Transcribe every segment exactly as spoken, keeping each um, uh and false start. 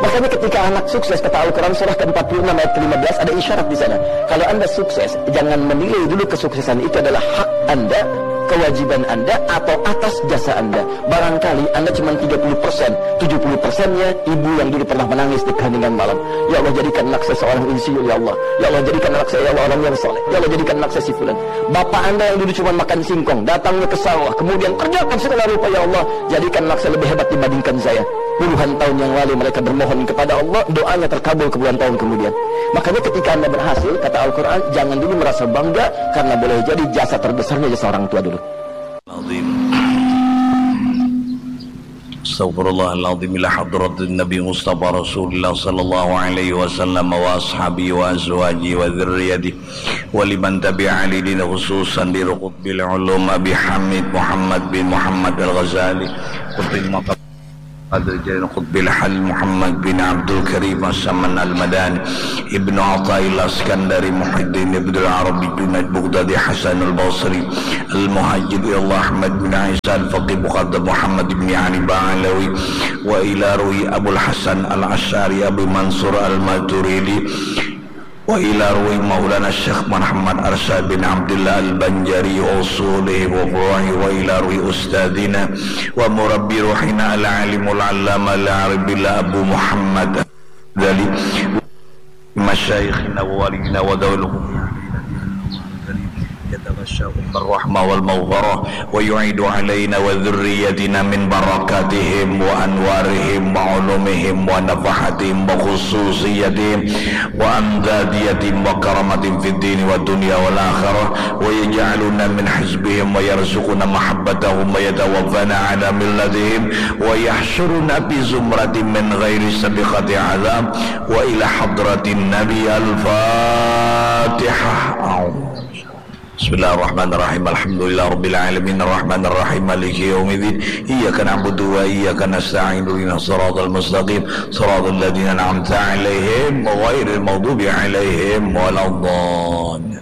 Makanya ketika anak sukses, kata Al-Quran surah ke empat puluh enam ayat ke lima belas, ada isyarat di sana. Kalau Anda sukses, jangan menilai dulu kesuksesan itu adalah hak Anda, kewajiban Anda, atau atas jasa Anda. Barangkali Anda cuma tiga puluh persen, tujuh puluh persennya ibu yang dulu pernah menangis di keheningan malam. Ya Allah, jadikan anak saya seorang insinyur, ya Allah. Ya Allah, jadikan anak saya, ya Allah, orang yang soleh. Ya Allah, jadikan anak saya si fulan. Bapak Anda yang dulu cuma makan singkong, datangnya ke sawah, kemudian kerjakan segala rupa, ya Allah, jadikan anak saya lebih hebat dibandingkan saya. Puluhan tahun yang lalu mereka bermohon kepada Allah, doanya terkabul puluhan tahun kemudian. Makanya ketika Anda berhasil, kata Al-Quran, jangan dulu merasa bangga karena boleh jadi jasa terbesarnya jasa orang tua dulu. العظيم. أستغفر الله العظيم إلى حضرة النبي مصطفى رسول الله صلى الله عليه وسلم وأصحابه وأزواجه وذريته ولمن تبع لدين خصوصا لقطب العلوم أبي حامد محمد بن محمد الغزالي قطب المقام قادر جيلاني قطب الحل محمد بن عبد الكريم السمن المداني ابن عطاء الله السكندري محي الدين ابن العربي جنيد بغدادي حسن البصري المهاجر إلى الله أحمد بن عيسى الفقيه مقدم محمد بن علي بعلوي وإلى روي أبو الحسن الأشعري أبي منصور الماتريدي وإلى روي مولانا الشيخ محمد أرشد بن عبد الله البنجري وأصوله وفروعه وإلى روي أستاذنا ومربي روحنا العالم العلامة العارف بالله أبو محمد الغزالي مشايخنا ووالدينا وذوي الحقوق علينا بأنه على قريب يتغشاهم الرحمة والمغفرة ويعيد علينا وذريتنا من بركاتهم وأنوارهم وعلومهم ونفحاتهم وخصوصياتهم وأمدادياتهم وكراماتهم في الدين والدنيا والآخرة ويجعلنا من حزبهم ويرزقنا محبتهم ويتوفانا على ملتهم ويحشرنا في زمرتهم من غير سابقة عذاب وإلى حضرة النبي الفاتحة. بسم الله الرحمن الرحيم. الحمد لله رب العالمين. الرحمن الرحيم. مالك يوم الدين. إياك نعبد وإياك نستعين. اهدنا الصراط المستقيم. صراط الذين أنعمت عليهم غير المغضوب عليهم ولا الضالين.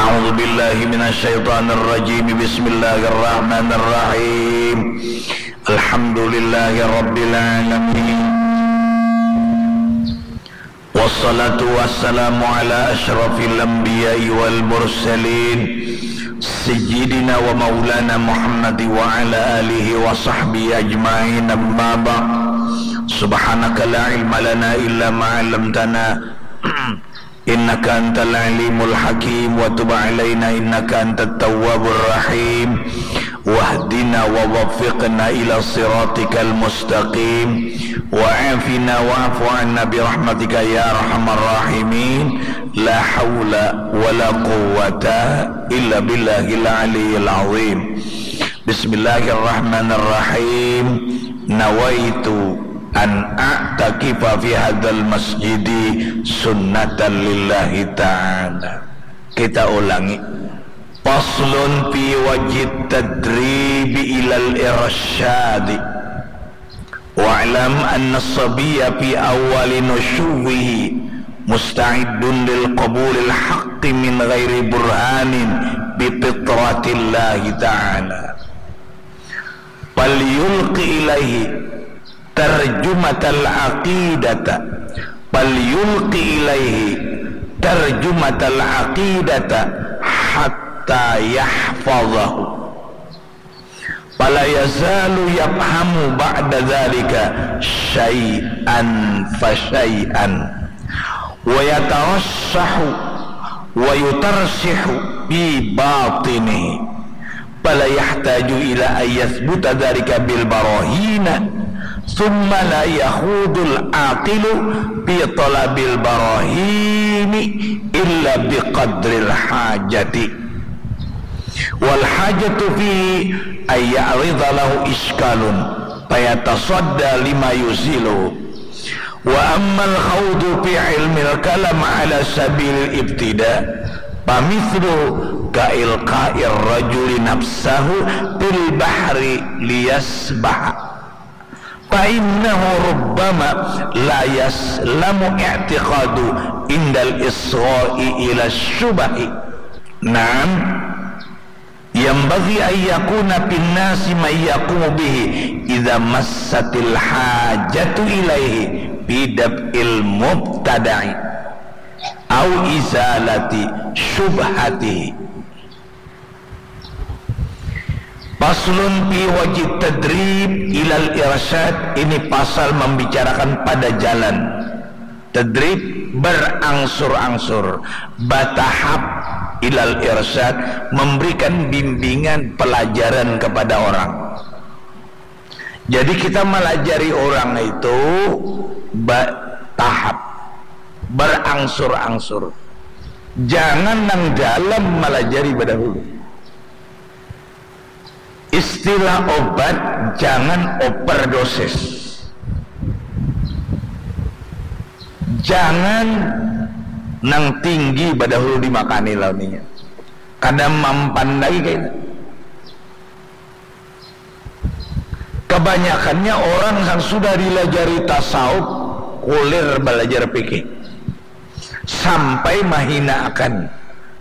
أعوذ بالله من الشيطان الرجيم. بسم الله الرحمن الرحيم. الحمد لله رب العالمين. والصلاة والسلام على أشرف الأنبياء والمرسلين سيدنا ومولانا محمد وعلى آله وصحبه أجمعين. أما بعد. سبحانك لا علم لنا إلا ما علمتنا إنك أنت العليم الحكيم وتب علينا إنك أنت التواب الرحيم واهدنا ووفقنا إلى صراطك المستقيم وعافنا واعف عنا برحمتك يا أرحم الراحمين لا حول ولا قوة إلا بالله العلي العظيم. بسم الله الرحمن الرحيم. نويت أن أعتكف في هذا المسجد سنة لله تعالى. Kita ulangi. فصل في وجه التدريب إلى الإرشاد. واعلم أن الصبي في أول نشوه مستعد للقبول الحق من غير برهان بفطرة الله تعالى. فليلق إليه ترجمة العقيدة، فليلق إليه ترجمة العقيدة حتى يحفظه، فلا يزال يفهم بعد ذلك شيئا فشيئا، ويترسخ ويترسخ في باطنه، فلا يحتاج إلى أن يثبت ذلك بالبراهين، ثم لا يخوض العاقل في طلب البراهين إلا بقدر الحاجة، والحاجة فيه أن يعرض له إشكال فيتصدى لما يزيله. وأما الخوض في علم الكلام على سبيل الابتداء فمثله كإلقاء الرجل نفسه في البحر ليسبح، فإنه ربما لا يسلم اعتقاد عند الإصغاء إلى الشبه. نعم، Yambagi ayyakuna pinnasi mayyakumu bihi idha massatil hajatu ilaihi bidab'il mubtada'i au izalati syubhatihi. Paslun fi wajib tadrib ilal irsyad, ini pasal membicarakan pada jalan. Tadrib berangsur-angsur, batahap ilal irsyad, memberikan bimbingan pelajaran kepada orang. Jadi kita melajari orang itu batahap, berangsur-angsur. Jangan nang dalam melajari badahulu. Istilah obat, jangan overdosis. Jangan nang tinggi badahulu dimakani lawan inya. Kada mampan lagi kaya itu. Kebanyakannya orang yang sudah dilajari tasawuf kulir belajar fikih sampai mahina akan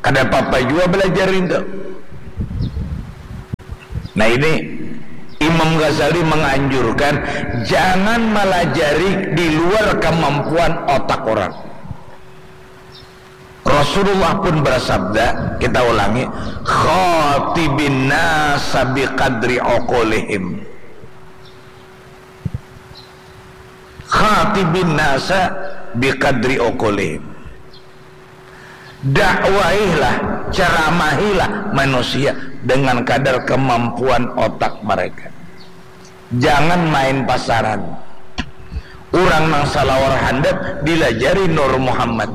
kada apa-apa juga belajar itu. Nah ini Imam Ghazali menganjurkan jangan melajari di luar kemampuan otak orang. Rasulullah pun bersabda, kita ulangi, khatibin nasa biqadri uqulihim. Khatibin nasa biqadri uqulihim. Dakwailah, ceramahilah manusia dengan kadar kemampuan otak mereka. Jangan main pasaran. Urang nang salawar handap dilajari Nur Muhammad.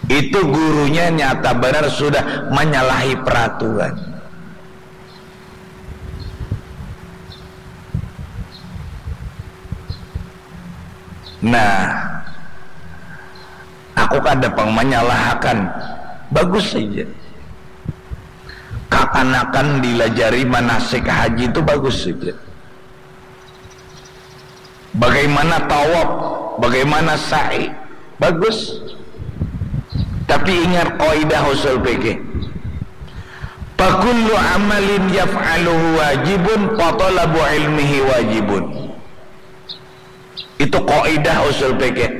Itu gurunya nyata banar sudah manyalahi peraturan. Nah, aku kada pang manyalahakan, bagus saja. Kakanakan dilajari manasik haji tu bagus saja. Bagaimana tawaf, bagaimana sa'i, bagus. Tapi ingat kaidah usul fikih. Fakullu amalin yaf'aluhu wajibun, fatalabu ilmihi wajibun. Itu kaidah usul fikih.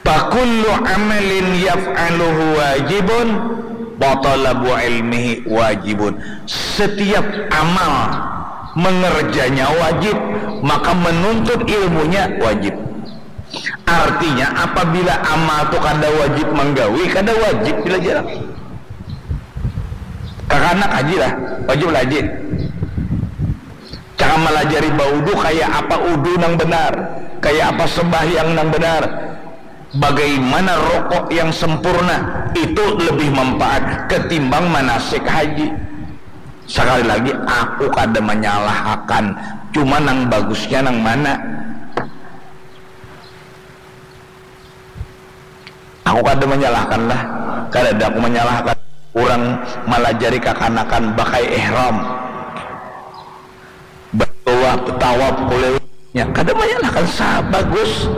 Fakullu amalin yaf'aluhu wajibun, wa talabu ilmihi wajibun. Setiap amal mengerjanya wajib, maka menuntut ilmunya wajib. Artinya, apabila amal tu kada wajib manggawi, kada wajib belajar. Kakanak haji lah, wajib lah haji. Cara malajari baudu, kaya apa udu nang benar, kaya apa sembahyang nang benar, bagaimana rokok yang sempurna, itu lebih manfaat ketimbang manasik haji. Sakali lagi, aku kada manyalahakan, cuma nang bagusnya nang mana. Aku kada manyalahkan lah, kadada aku manyalahkan urang malajari kakanakan bakai ihram, batawaf, tawaf, kuliah, nya kada manyalahkan, sa bagus.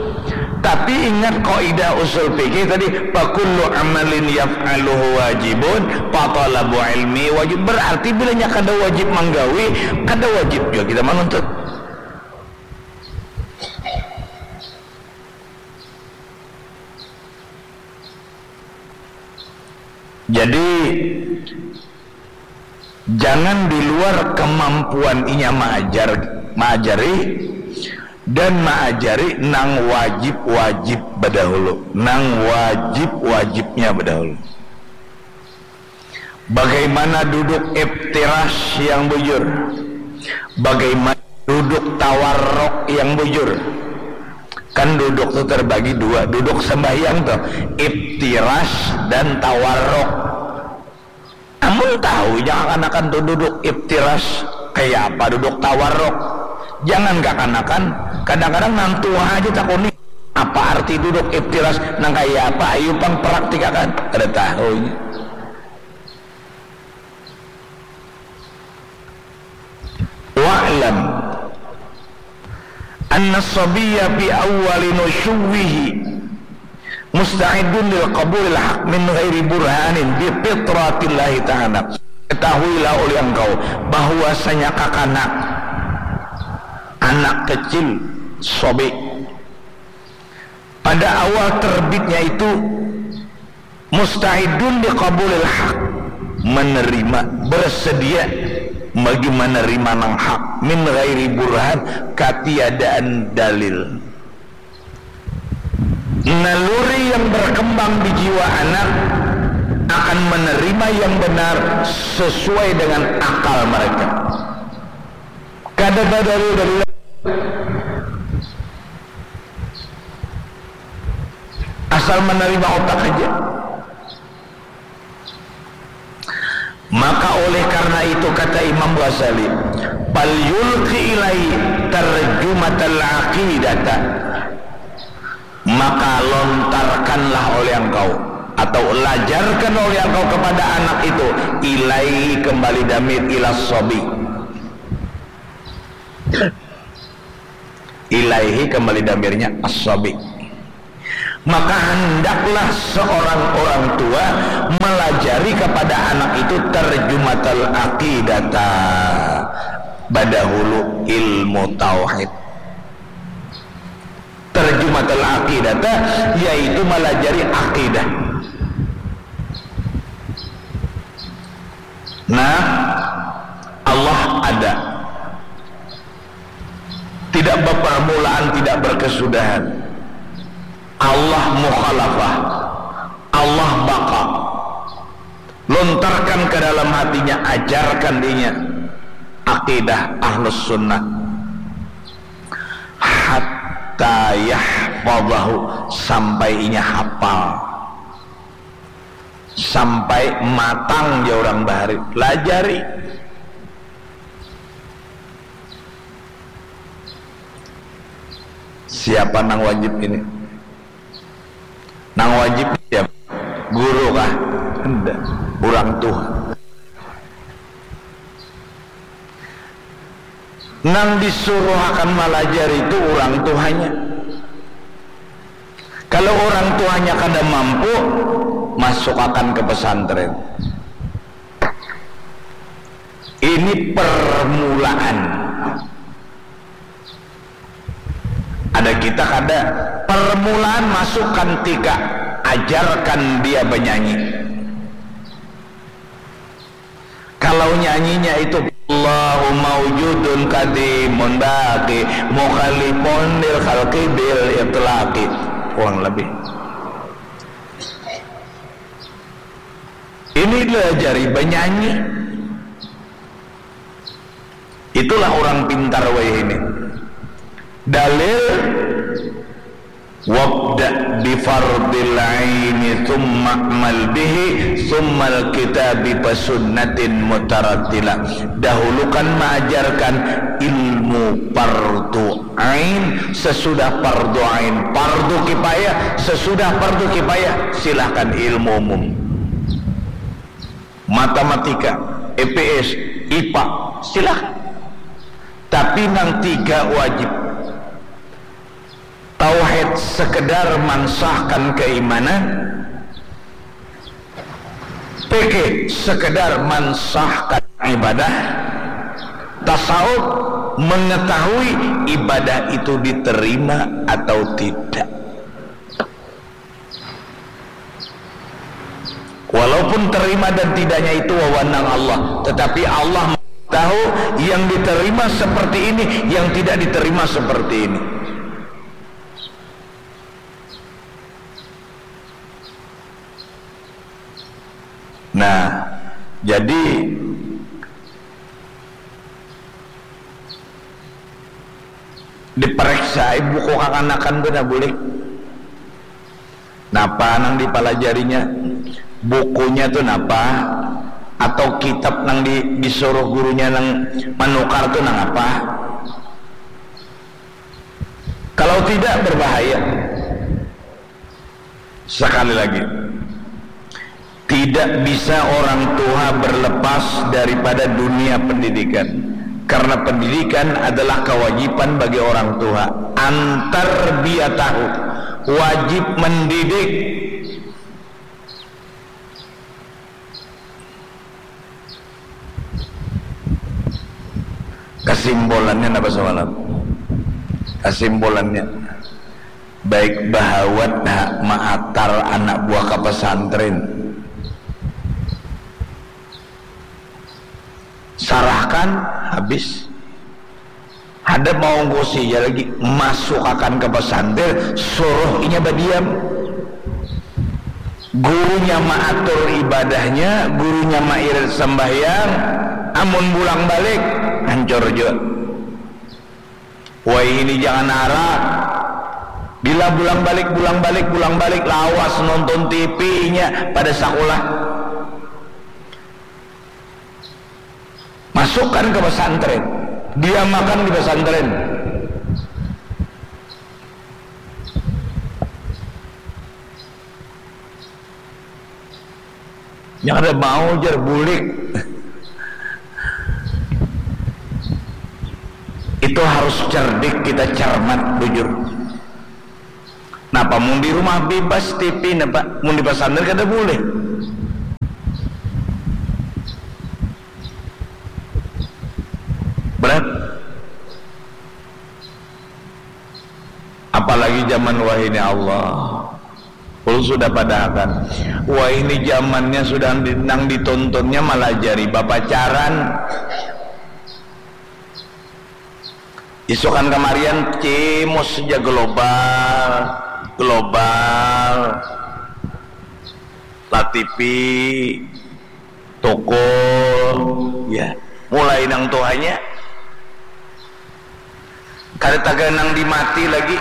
Tapi ingat kaidah usul fikih tadi, fakullu amalin yaf'aluhu wajibun, fatalabu ilmi wajib. Berarti bila nya kada wajib manggawi, kada wajib jua kita manuntut. Jadi, jangan di luar kemampuan inya maajar, maajari, dan maajari nang wajib-wajib badahulu, nang wajib-wajibnya badahulu. Bagaimana duduk iftirash yang bujur? Bagaimana duduk tawarruk yang bujur? Kan duduk tu terbagi dua, duduk sembahyang tu, iftirash dan tawarruk. Amun tahu ja kakanakan tu duduk iftirash kaya apa duduk tawarruk, jangan kakanakan, kadang-kadang nang tuha haja takuni apa arti duduk iftirash nang kaya apa, ayu pang praktikakan, kada tahu inya. Wa'lam anna sabiyya fi awwali nusyuwihi Musta'idun lil qabulil haq min ghairi burhanin bi fitratillahi ta'ala. Ketahuilah oleh engkau bahwasanya kakanak, anak kecil, sobi, pada awal terbitnya itu musta'idun li qabulil haq, menerima, bersedia bagi menerima nang hak, min ghairi burhan, katiadaan dalil. Naluri yang berkembang di jiwa anak akan menerima yang benar sesuai dengan akal mereka. Kada badalil-dalil, asal menerima otak aja. Maka oleh karena itu kata Imam Ghazali, "Fal yulqi ilai tarjumatal aqidata." Maka lontarkanlah oleh engkau atau lajarkan oleh engkau kepada anak itu, ilai, kembali damir, ila sobi. Ilaihi, kembali damirnya, as-sobi. Maka hendaklah seorang orang tua melajari kepada anak itu tarjumatal aqidata, badahulu ilmu tauhid. Tarjumatal aqidata, yaitu melajari akidah. Nah, Allah ada. Tidak berpermulaan, tidak berkesudahan. Allah mukhalafah. Allah baqa. Lontarkan ke dalam hatinya, ajarkan dinya akidah ahlus sunnah. Hatta yahfadahu, sampai inya hafal. Sampai matang, jar urang bahari. Lajari. Siapa nang wajib ini? Nang wajib siapa? Guru kah? Tidak. Urang tuha. Nang disuruh akan malajari itu urang tuhanya. Kalau urang tuhanya kada mampu, masuk akan ke pesantren. Ini permulaan. Ada kita kada, permulaan masukkan tika, ajarkan dia banyanyi. Kalau nyanyinya itu, "Allahu maujudun kadimun baqi, mukhalifun lil khalqi bil itlaqi." Kurang lebih. Ini diajari banyanyi. Itulah orang pintar wayah ini. Dalil, "Wabda bi fardil aini, tsumma amal bihi, tsummal kitabi fa sunnatin mutarattila." Dahulukan mengajarkan ilmu fardu ain, sesudah fardu ain fardu kifayah, sesudah fardu kifayah silahkan ilmu umum. Matematika, I P S, I P A, silakan. Tapi nang tiga wajib. Tauhid sekedar mansahkan keimanan, fikih sekedar mansahkan ibadah, tasawuf mengetahui ibadah itu diterima atau tidak. Walaupun terima dan tidaknya itu wewenang Allah, tetapi Allah tahu yang diterima seperti ini, yang tidak diterima seperti ini. Nah, jadi diperiksa buku kakanakan tu nah, boleh. Napa nang dipalajarinya? Bukunya tu napa? Atau kitab nang di, disuruh gurunya nang manukar tu nang apa? Kalau tidak, berbahaya. Sekali lagi, tidak bisa orang tua berlepas daripada dunia pendidikan, karena pendidikan adalah kewajiban bagi orang tua. Antar dia tahu wajib mendidik. Kesimpulannya apa semalam? Kesimpulannya, baik bahawat ha maatar anak buah ke pesantren. Sarahkan, habis. Ada mau ngusinya lagi, masukakan ke pesantren, suruh inya badiam. Gurunya maatur ibadahnya, gurunya mairit sembahyang, amun bulang balik, hancur jua. Wahini jangan arah. Bila bulang balik, bulang balik, bulang balik, lawas nonton T V inya pada sakulah. Masukkan ke pesantren, diamakan di pesantren. Yang ada mau jar bulik. Itu harus cerdik kita, cermat, bujur. Napa mun di rumah bebas T V, napa mun di pesantren kada boleh? Berat. Apalagi zaman wahini Allah. Ulun sudah padahakan. Wahini zamannya sudah di, nang ditontonnya malajari bapacaran. Isukan kamarian cimus ja global, global, La T V, tukul, ya. Mulai nang tuhanya kada taganang dimati lagi.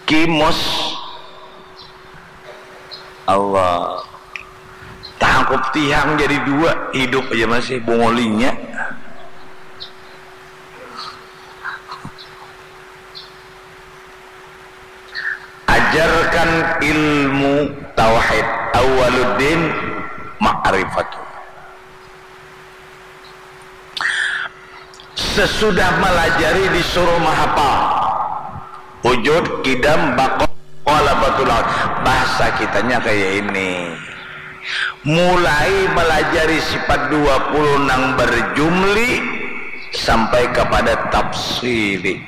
Kimus. Allah. Tangkup tihang jadi dua, hidup aja masih bungolinya. Ajarkan ilmu tauhid. Awaluddin ma'rifatullah. Sesudah malajari disuruh mahapal. Wujud, kidam, bako, mukhalafatul aud. Bahasa kitanya kaya ini. Mulai malajari sifat dua puluh nang berjumli sampai kepada tafsili.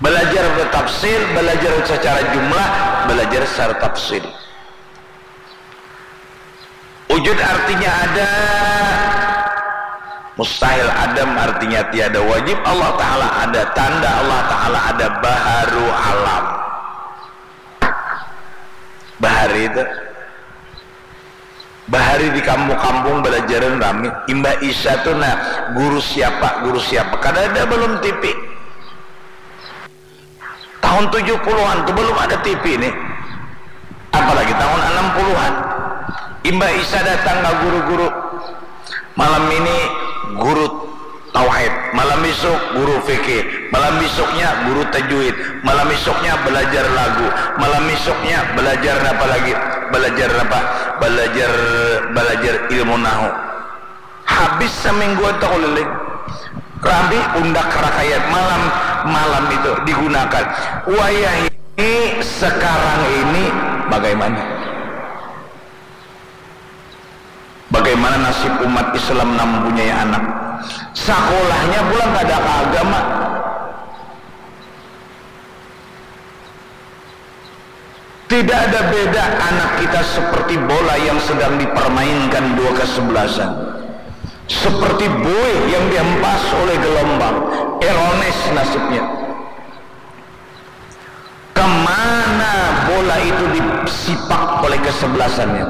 Balajar bertafsil, balajar secara jumlah, balajar secara tafsil. Wujud artinya ada, mustahil adam artinya tiada, wajib Allah Ta'ala ada, tanda Allah Ta'ala ada, baharu alam. Bahari itu. Bahari di kampung-kampung balajaran rami. Imbah Isya tu nah, guru siapa, guru siapa. Kada ada balum T V. Tahun tujuh puluhan tu balum ada T V nih. Apalagi tahun anam puluhan. Imbah Isya datang ka guru-guru. Malam ini guru tauhid, malam isuk guru fikih, malam isuknya guru tajwid, malam isuknya balajar lagu, malam isuknya balajar napa lagi? Balajar napa? Balajar, balajar ilmu nahu. Habis samingguan takuliling. Rami undak rakayat malam, malam itu digunakan. Wayah ini sekarang ini bagaimana? Bagaimana nasib umat Islam nang mempunyai anak? Sakulahnya pulang kada ka agama. Tidak ada beda anak kita seperti bola yang sedang dipermainkan dua kesebelasan. Seperti buih yang dihempas oleh gelombang, ironis nasibnya. Kemana bola itu disipak oleh kesebelasannya?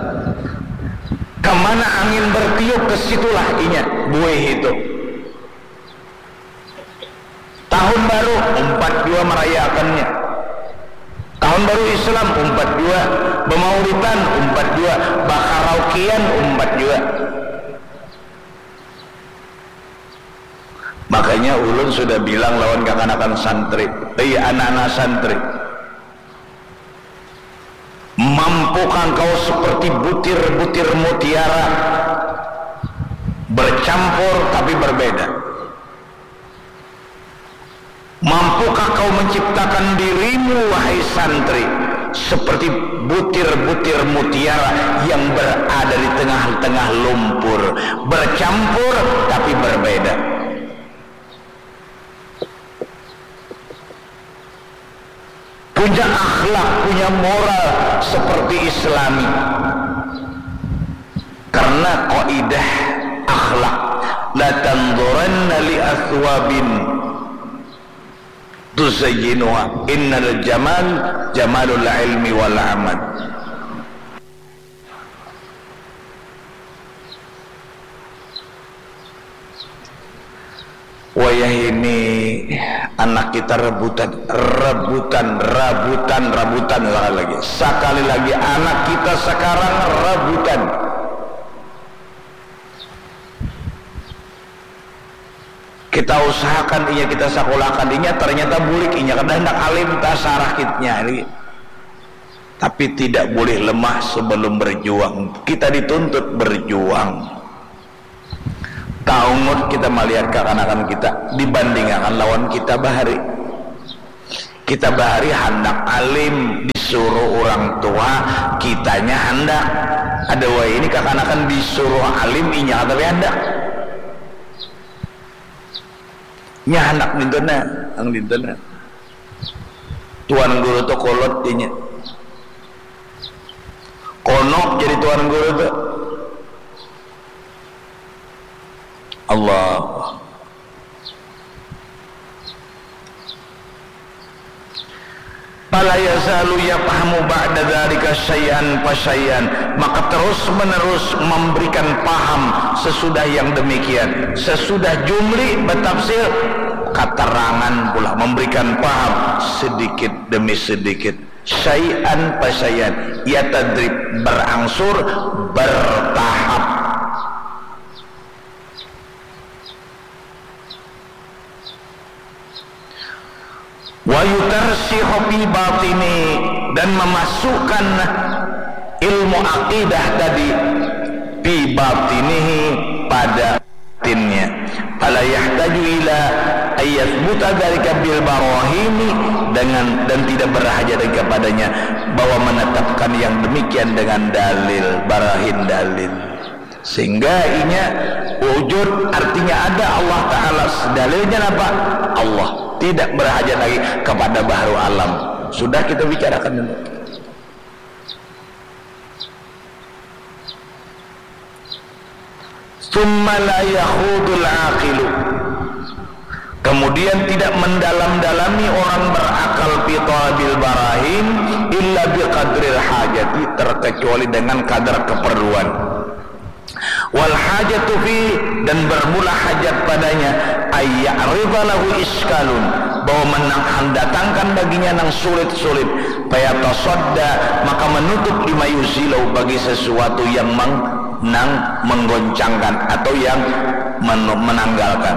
Kemana angin bertiup, ke situlah inya, buih itu. Tahun baru, umpat jua merayakannya. Tahun baru Islam, umpat jua. Bemaulidan, umpat jua. Bakaraokean, umpat jua. Makanya ulun sudah bilang lawan kakanakan santri, hei anak-anak santri, mampukah engkau seperti butir-butir mutiara, bercampur tapi berbeda? Tahukah kau menciptakan dirimu, wahai santri, seperti butir-butir mutiara yang berada di tengah-tengah lumpur, bercampur tapi berbeda. Punya akhlak, punya moral seperti Islami. Karena kaidah akhlak, la tanzuranna li athwabin tuzayyinuha, innal jamal jamalul ilmi wal amal. Wayah ini anak kita rebutan, rebutan, rabutan, rabutan, sekali lagi. Sekali lagi, anak kita sekarang rebutan. Kita usahakan inya, kita sakulahkan inya, ternyata bulik inya, kada handak alim, tasarah kitnya. Tapi tidak boleh lemah sebelum berjuang. Kita dituntut berjuang. Taungut kita malihat kakanakan kita dibandingakan lawan kita bahari. Kita bahari handak alim, disuruh urang tuha, kitanya handak. Ada wayah ini kakanakan disuruh alim, inya kada tapi handak. Nya handak dinten nah, nang dinten nah. Tuan guru tu kolot inya. Konok jadi tuan guru tu. Allah. Fala yazalu yafhamu ba'da dzalika syai'an fa syai'an, maka terus-menerus memberikan paham sesudah yang demikian, sesudah Jumli bertafsir, keterangan pula, memberikan paham sedikit demi sedikit, syai'an fa syai'an, ya tadrib, berangsur, bertahap. Wa yutarsihu fi batini, dan memasukkan ilmu akidah tadi fi batinihi, pada batinnya. Fala yahtaju ila ayathbuta dzalika bil barahini, dengan, dan tidak berhajat lagi kepadanya bahwa menetapkan yang demikian dengan dalil, barahin dalil. Sehingga inya wujud, artinya ada Allah Ta'ala. Dalilnya apa? Allah. Tidak berhajat lagi kepada bahru alam. Sudah kita bicarakan dulu. Tsumma la yakhudul aqilu. Kemudian tidak mendalam-dalami orang berakal fi talabil barahin illa biqadril hajati, terkecuali dengan kadar keperluan. Wal hajatu fi, dan bermula hajat padanya, ayya'rida lahu iskalun, bahwa menang-, mendatangkan baginya nang sulit-sulit, fayatasadda, maka menutup, lima yuzilahu, bagi sesuatu yang meng-, nang menggoncangkan atau yang men-, menanggalkan.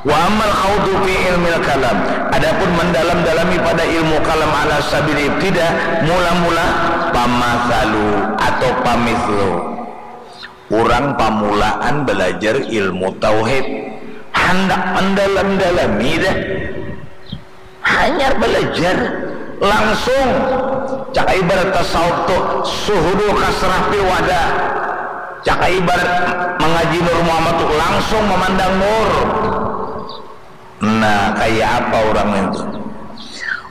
Wa ammal khawdu fi ilmil kalam, adapun mendalam-dalami pada ilmu kalam ala sabil ibtida, mula-mula, pamathalu atau pamithlu. Urang pamulaan balajar ilmu tauhid, handak mandalam-dalami dah. Hanyar balajar, langsung. Caka ibarat tasawuf tu, suhudul kasrah fil wada. Caka ibarat mangaji Nur Muhammad tu, langsung mamandang nur. Nah, kaya apa urang itu?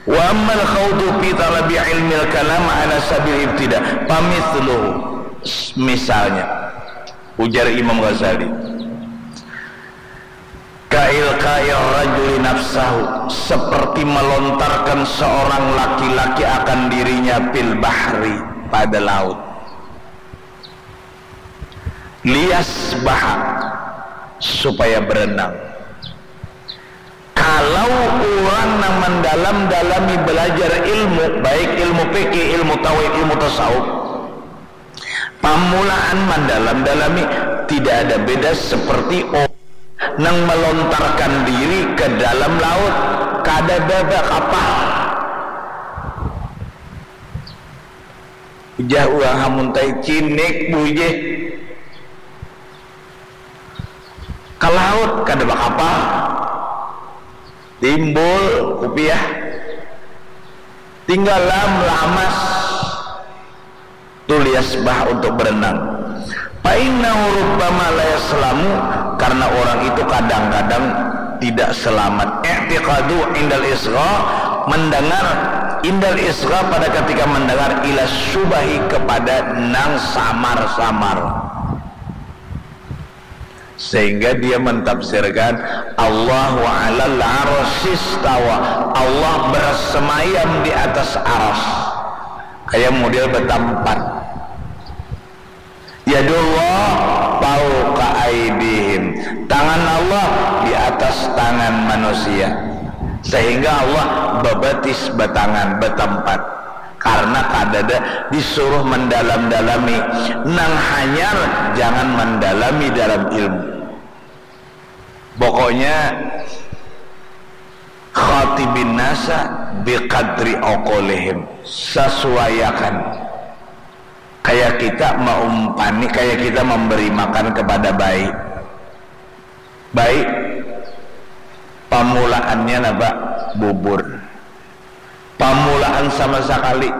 Wa ammal khawdu fi talabi ilmil kalam ala sabil ibtida, famithluhu. Misalnya, ujar Imam Ghazali, ka ilqa'ir rajuli nafsahu, seperti melontarkan seorang laki-laki akan dirinya fil bahri, pada laut. Liyasbaha, supaya berenang. Kalau urang nang mandalam-dalami balajar ilmu, baik ilmu fikih, ilmu tauhid, ilmu tasawuf, pamulaan mandalam-dalami, tidak ada beda seperti orang nang melontarkan diri ke dalam laut, kada baba kapal. Ujah urang hamuntai cinik bujih. Ka laut kada bakapal. Timbul kupiah, tinggalam lamas, tulias bah untuk berenang. Fa innahu rubbama la yaslamu, karena orang itu kadang-kadang tidak selamat. I'tiqadu indal isgha, mendengar indal isgha, pada ketika mendengar, ila syubahi, kepada nang samar-samar. Sehingga dia mentafsirkan Allahu alal arsistawa, Allah bersemayam di atas aras. Kayak model betampat. Yadullah fauqa aidihim, tangan Allah di atas tangan manusia, sehingga Allah bebatis, batangan, betampat. Karena kadada disuruh mendalam-dalami, nang hanyar jangan mendalami dalam ilmu. Pokoknya khatibin nasa biqadri uqulihim, sesuaiakan. Kayak kita maumpani, kayak kita memberi makan kepada bayi. Bayi, pamulaannya napa? Bubur. Pamulaan sama sakali